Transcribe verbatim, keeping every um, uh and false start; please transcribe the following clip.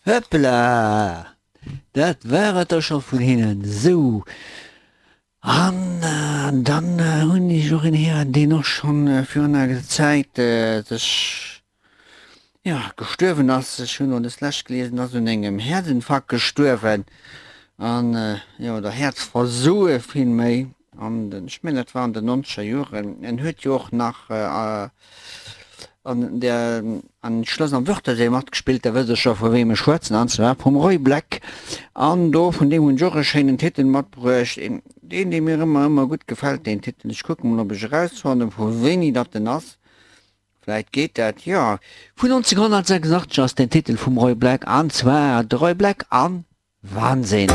Hoppla! Dat war et da scho vun hinnen. Sou, an dann hunn ech och en héieren, deen och schonn virun enger Zäit sech, jo, gestuerwen ass. Ech hunn elo deslescht geliesen, ass un engem Häerzinfarkt gestuerwen an, jo, oder Häerzversoe villméi. An den, ech mengen dat war an den nonzeger Joren. En huet jo och nach an der an Schloss am Wörthersee matgespillt, da wësst der scho vu weem ech schwätzen, an zwar vum Roy Black. An do vun deem hunn ech och e schéinen Titel matbruecht, een deen dee mir ëmmer ëmmer gutt gefält, deen Titel. Ech kucke mol ob ech erausfannen vu wéini datt en ass. Vläit geet dat, jo. Vun nonzénghonnertsechsundachtzeg ass den Titel vum Roy Black, an zwar de Roy Black an Wahnsinn.